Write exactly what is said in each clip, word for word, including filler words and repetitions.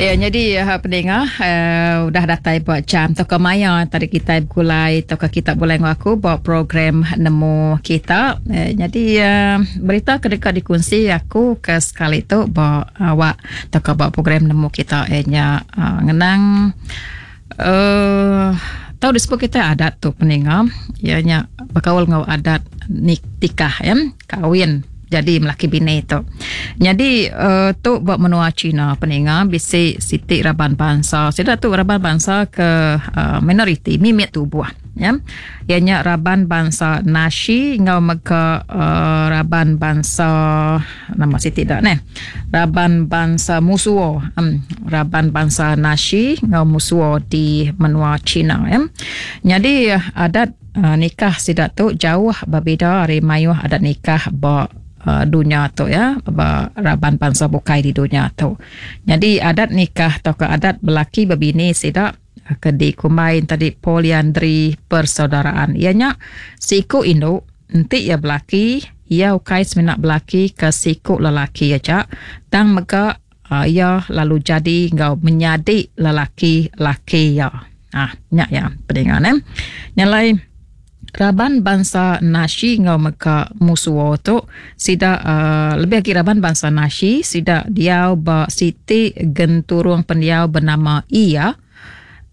Ya, jadi uh, pendengar uh, udah datai buat jam atau ke maya tadi kita gulai atau ke kita boleh ngaku buat program nemu kita. Uh, jadi uh, berita ke dekat dikongsi aku ke sekali tu buat awak atau ke buat program nemu kita eh, nya uh, ngenang uh, tahu disebut kita adat tu pendengar ya nya berkaul ngau adat nikah ya kawin jadi melaki bini tu. Jadi uh, tu buat menua China peninga bisi siti raban bangsa. Sida tu raban bangsa ke uh, minoriti mimit tubuh ya. Ianya raban bangsa Nashi ngau mega uh, raban bangsa nama siti dak neh. Raban bangsa Musuo. Um, raban bangsa Nashi ngau Musuo di menua China ya. Jadi adat uh, nikah sida tu jauh berbeza dari mayuh adat nikah ba Uh, dunia tu ya, ba raban bangsa bukai di dunia tu. Jadi adat nikah atau ke adat belaki berbini sidak ke di kumbain tadi poliandri persaudaraan. Ianya siku induk enti ia belaki, ia ukai semenak belaki ke siku lelaki aja, tang mega uh, ia lalu jadi ngau menyadi lelaki laki ya. Ah, nyak ya pendengar eh. Nyalai raban bangsa Nashi ngau meka Musuo tu sida uh, lebih lagi raban bangsa Nashi sida diau ba siti genturung pendiau bernama Iya.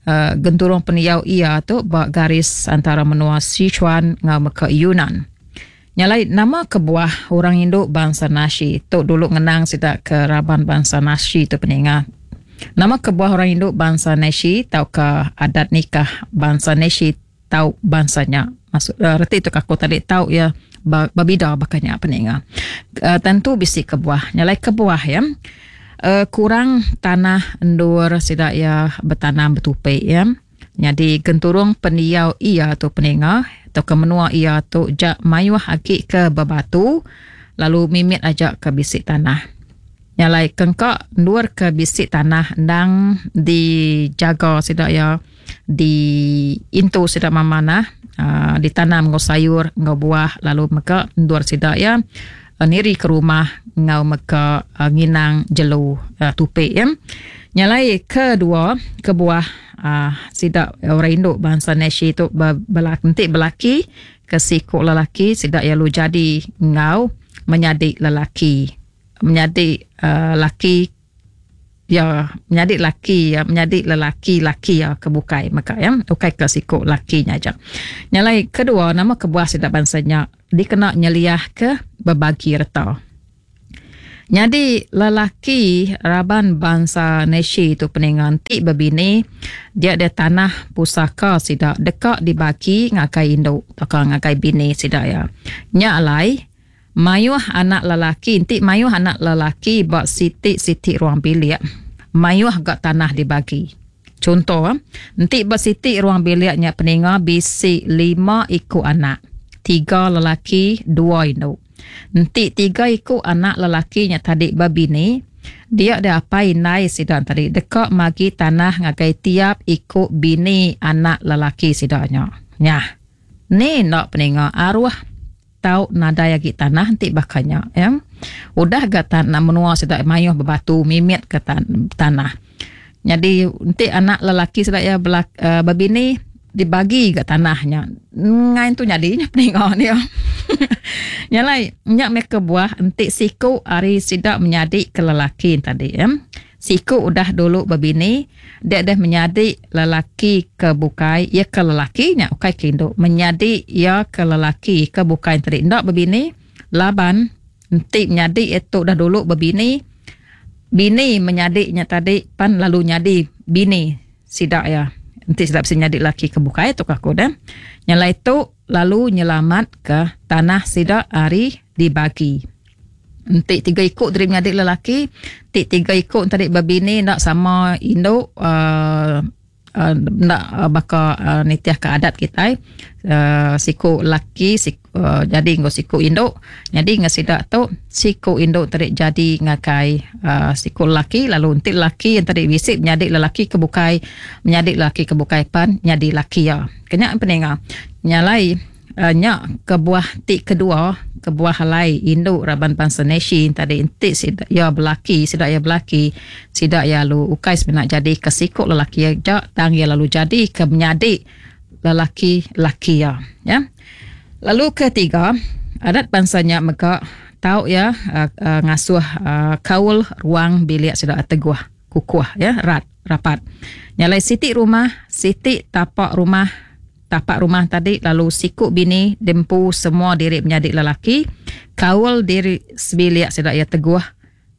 Uh, genturung pendiau Iya tu ba garis antara menua Sichuan ngau meka Yunnan. Nyalai nama kebuah orang induk bangsa Nashi tu dulu ngenang sida ke raban bangsa Nashi tu peninga. Nama kebuah orang induk bangsa Nashi tau ke adat nikah bangsa Nashi tau bangsanya. Maksud uh, reti tu aku tadi tau ya berbeda bakanya peninga. Uh, tentu bisi kebuah. Nyalai kebuah ya. Uh, kurang tanah endur sida ya bertanam bertupi ya. Jadi genturung pendiau ia tu peninga atau ke menua ia tu jak mayuh agi ke berbatu lalu mimit aja ke bisi tanah. Nyalai kengkak endur ke bisi tanah endang dijaga sida ya di intu sida mamanah uh, ditanam ngau sayur ngau buah lalu meka endur sida ya uh, niri ke rumah ngau meka uh, nginang jelu uh, tupi ya. Nyalai kedua kebuah uh, sida orang induk bangsa Nashi tu belaki enti belaki ke siku lelaki sida ya lu jadi ngau menyadi lelaki menyadi uh, laki ya menyadi laki ya menyadi lelaki laki ya kebukai maka ya ukai ke siku lakinya aja. Nyalai kedua nama kebuah sida bangsanya dikena nyeliah ke berbagi reta. Jadi lelaki raban bangsa Nashi tu peningan ti berbini dia ada tanah pusaka sida dekak dibagi ngakai induk atau ngakai bini sida ya. Nya alai mayuh anak lelaki enti mayuh anak lelaki bak siti-siti ruang bilik mayuh gak tanah dibagi. Contoh enti bak siti ruang biliknya peninga bisi lima iku anak, tiga lelaki, dua induk. Enti tiga iku anak lelakinya tadi berbini, dia ada apa inai sidang tadi dekak magi tanah ngagai tiap iku bini anak lelaki sidaknya. Nyah. Ni nak peninga arwah tau nadai lagi tanah enti bakanya ya. Udah ga tanah menua sidak mayuh berbatu mimit ke tan- tanah. Jadi enti anak lelaki sidak ya belak, uh, berbini dibagi ga tanahnya. Ngain tu jadinya peninga dia. Nyalai nyak me kebuah enti siku ari sidak menyadi ke lelaki tadi ya. Siku udah dulu berbini, dia dah menyadi lelaki ke bukai, ia ke lelaki nya ukai ke induk, menyadi ia ke lelaki ke bukai tadi ndak berbini, laban enti menyadi itu dah dulu berbini, bini menyadinya tadi pan lalu nyadi bini sidak ya. Enti sidak bisa nyadi lelaki ke bukai tu aku dah. Nyalai tu lalu nyelamat ke tanah sidak ari dibagi. Enti tiga ikut dari menyadi lelaki, enti tiga ikut tadi berbini nak sama induk uh, uh, nak uh, baka uh, nitiah ke adat kita uh, siku laki siku, uh, jadi ngau siku induk, jadi ngau sidak tu siku induk tadi jadi ngakai uh, siku laki, lalu enti laki yang tadi bisik menyadi lelaki ke bukai, menyadi lelaki ke bukai pan nyadi laki ya. Kenyak peninga nyalai uh, nya kebuah ti kedua, kebuah alai indu raban bansa Nashi tadi enti sida ya belaki, sida ya belaki, sida ya lalu ukai semina jadi ke siku lelaki aja, tang ya lalu jadi ke menyadi lelaki-laki ya, ya. Lalu ketiga, adat bansa nya mega tau ya uh, uh, ngasuh uh, kaul ruang bilik sida teguh, kukuh ya, rat, rapat. Nyalai siti rumah, siti tapak rumah, tapak rumah tadi lalu siku bini dempu semua diri menyadi lelaki, kaul diri sebilik sida ya teguh,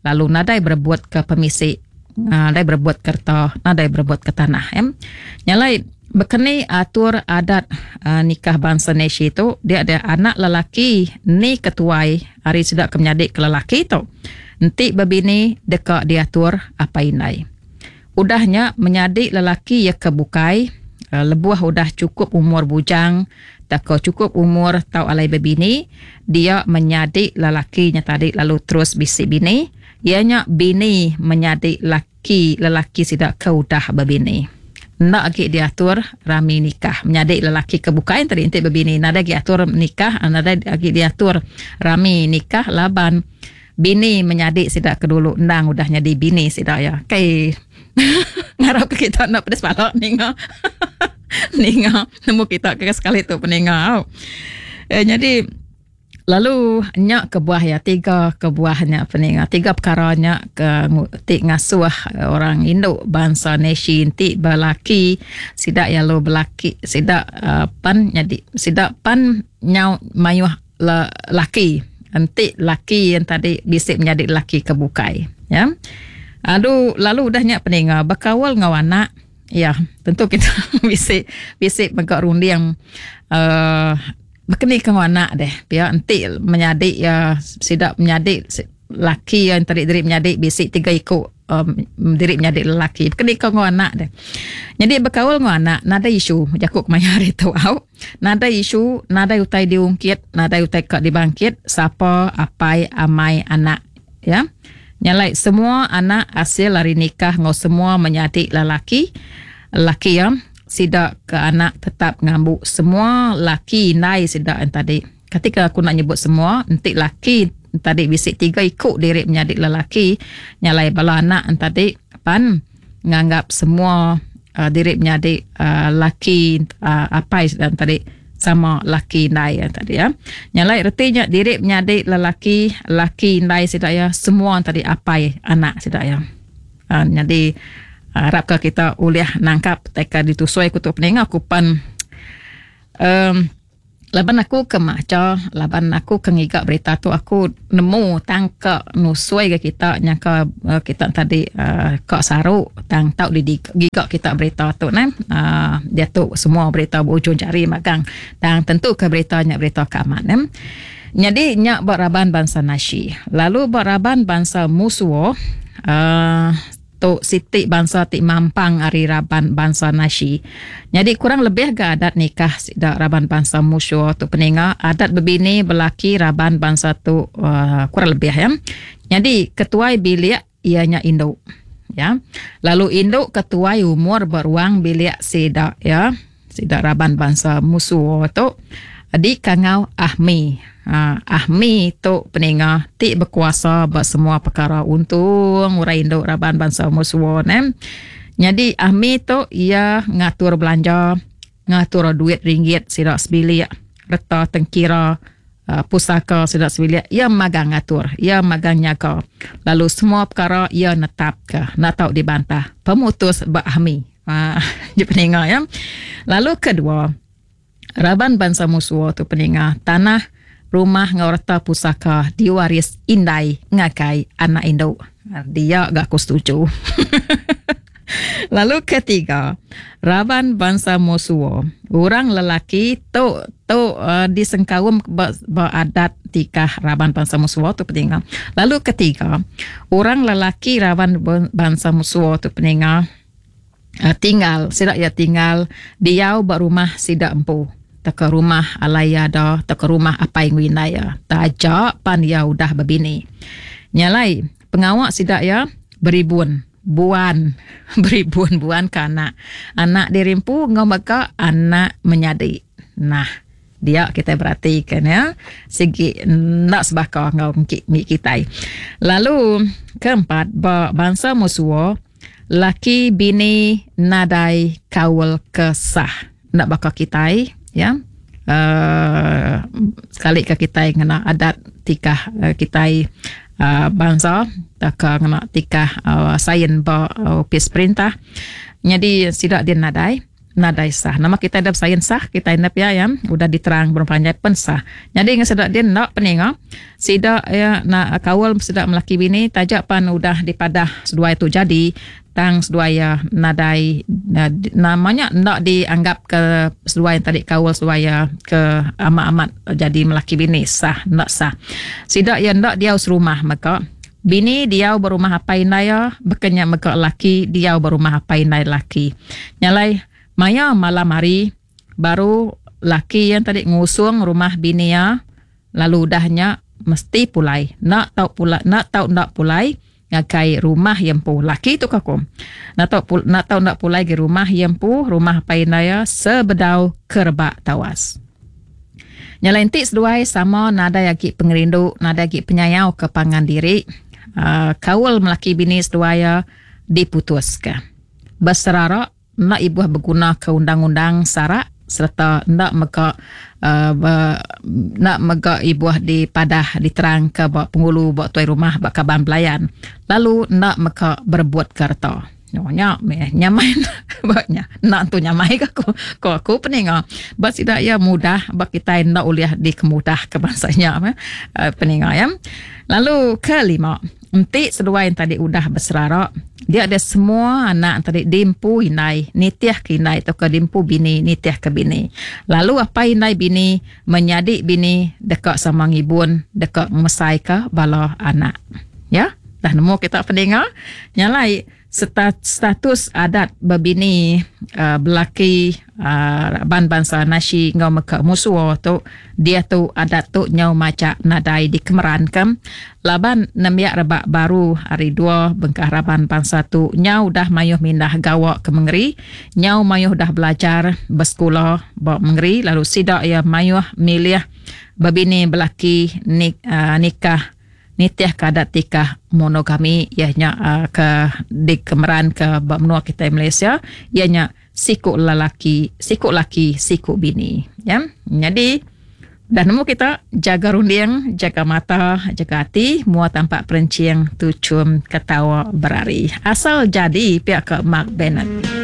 lalu nadai berebut ke pemisi, nadai berebut kerta, nadai berebut ke tanah ya. Nyalai bekeni atur adat uh, nikah bangsa Nashi tu, dia ada anak lelaki ni ketuai hari sida ke menyadi ke lelaki tu. Enti berbini deka diatur apa indai. Udahnya menyadi lelaki ya ke bukai, uh, lebuh udah cukup umur bujang, tak cukup umur tau alai berbini, dia menyadi lelakinya tadi lalu terus bisi bini, ianya bini menyadi laki lelaki sida ke udah berbini. Nak lagi diatur rami nikah. Menyadi lelaki ke bukai tadi enti berbini, nadai lagi atur nikah, nadai lagi diatur rami nikah laban bini menyadi sida ke dulu endang udah nyadi bini sida ya. Kai ngarap ke kita nak pedes pala ninga. Ninga nemu kita ke sekali tu peninga. Eh, jadi lalu nya kebuah ya, tiga kebuahnya peninga, tiga perkaranya ke ti ngasuh orang induk bangsa Nashi ti belaki sida ya lo belaki sida uh, pan jadi sida pan nyau mayuh le, laki enti laki yang tadi bisik menjadi laki ke bukai ya. Aduh, lalu udahnya peninga berkawal ngau anak ya, tentu kita bisik bisik megak runding uh, berkeni ke anak deh ya, enti menyadik ya sidak menyadik laki yang tadi diri menyadik bisik tiga ikut um, diri menyadik lelaki berkeni ke anak deh. Jadi berkaul ngau anak nadai isu jakuk kemaya hari tu au, nadai isu, nadai utai diungkit, nadai utai kak dibangkit sapa apai amai anak ya. Nyalai semua anak hasil hari nikah ngau semua menyadik lelaki laki ya, sidak ke anak tetap ngambuk semua laki nai sidak yang tadi. Ketika aku nak nyebut semua, entik laki tadi bisik tiga ikut diri menyadik lelaki, nyalai bala anak yang tadi pan nganggap semua uh, diri menyadik uh, laki uh, apai dan tadi sama laki nai yang tadi ya. Nyalai ertinya diri menyadik lelaki, laki nai sidak ya, semua yang tadi apai anak sidak ya. Uh, jadi harap ke kita boleh nangkap teka ditusui aku tu peninga aku pan um, laban aku ke maca, laban aku ke ngigak berita tu aku nemu tangka nusui ke kita nyangka uh, kita tadi uh, kak saruk tang tau di gigak kita berita tu nah uh, dia tu semua berita berujung jari magang tang tentu ke berita nya berita keaman ne. Jadi nyak beraban bangsa Nashi lalu beraban bangsa Musuo uh, tu siti bangsa ti mampang ari raban bangsa Nashi. Jadi kurang lebih ke adat nikah sida raban bangsa Musuo tu peninga adat berbini belaki raban bangsa tu uh, kurang lebih ya. Jadi ketuai bilik ianya induk ya. Lalu induk ketuai umur beruang bilik sida ya. Sida raban bangsa Musuo tu di kangau Ahmi. Ha, Ahmi tu peninga ti berkuasa buat semua perkara untung orang induk raban bangsa Musuo ne. Jadi Ahmi tu ia ngatur belanja, ngatur duit ringgit sidak sebilik, reta tengkira, uh, pusaka sidak sebilik, ia magang ngatur, ia magang nyaga. Lalu semua perkara ia netap ke, nak tahu dibantah. Pemutus bak Ahmi. Ha, dia peninga ya. Lalu kedua, raban bangsa Musuo tu peninga tanah rumah ngau reta pusaka diwaris indai ngakai anak induk. Dia gak aku setuju. Lalu ketiga, raban bangsa Musuo, orang lelaki tu tu uh, disengkaum beradat tikah raban bangsa Musuo tu peninga. Lalu ketiga, orang lelaki raban bangsa Musuo tu peninga uh, tinggal, sidak ya tinggal diau berumah sidak empu. Tak ke rumah alai ada, tak ke rumah apai ngwinai ya. Tajak pan ya udah berbini. Nyalai pengawak sidak ya beribun buan beribun buan ke anak. Anak dirimpu ngau maka anak menyadi. Nah, Dia kita berarti kan ya sigi nak sebaka ngau mi kitai. Lalu keempat ba bangsa Mosuo laki bini nadai kaul kesah nak baka kitai ya. Uh, sekali ke kitai ngena adat tikah uh, kitai uh, bangsa tak ngena tikah uh, sains ba uh, opis perintah. Jadi sidak dia nadai nadai sah. Nama kita ada sains sah, kita inap ya ya udah diterang berpanjai pen sah. Jadi ngah dia nak peninga sidak ya nak kaul sidak melaki bini tajak pan udah dipadah seduai tu jadi tang seduai ya nadai namanya nak dianggap ke seduai yang tadi kaul seduai ya ke amat-amat jadi melaki bini sah nak sah. Sidak ya nak dia serumah maka bini dia berumah apa indai ya bekenya maka laki dia berumah apa indai laki. Nyalai maya malam hari baru laki yang tadi ngusung rumah bini ya lalu udahnya mesti pulai nak tau pulai nak tau nak pulai ngakai rumah yang pu laki tu kakum nak tau nak tau nak pulai ke rumah yang pu rumah painaya sebedau kerbak tawas. Nyalentik seduai sama nadai agi pengerindu nadai agi penyayau ke pangan diri uh, kaul melaki bini seduai ya diputuska beserara nak ibuh berguna ke undang-undang sarak serta nak mega uh, be, nak mega ibuh dipadah diterang ke bak pengulu bak tuai rumah bak kaban pelayan lalu nak mega berbuat kerta nyonya meh nyamai baknya nak tu nyamai ke aku ko aku peninga bak sidak ya mudah bak kita nak uliah di kemudah ke bangsanya meh uh, peninga ya. Lalu kelima entik seduai yang tadi udah berserarak dia ada semua anak tadi dimpu inai nitiah ke inai atau ke dimpu bini nitiah ke bini. Lalu apa inai bini menyadik bini dekat sama ngibun dekat mesai ke bala anak ya. Dah nemu kita pendengar nyalai status adat berbini uh, belaki uh, ban bangsa nasi ngau meka musuh tu dia tu adat tu nyau macak nadai dikemerankan laban nemiak rebak baru hari dua bengkah raban bangsa tu nyau dah mayuh mindah gawak ke mengeri nyau mayuh dah belajar bersekolah bak mengeri lalu sidak ya mayuh milih berbini belaki nik, uh, nikah nitiah ke adat tikah monogami ianya uh, ke dikemeran ke benua kita Malaysia ianya sikuk lelaki sikuk laki sikuk bini ya. Jadi dah nemu kita jaga runding jaga mata jaga hati mua tampak perencing tucum ketawa berari asal jadi pihak ke Mark Bennett.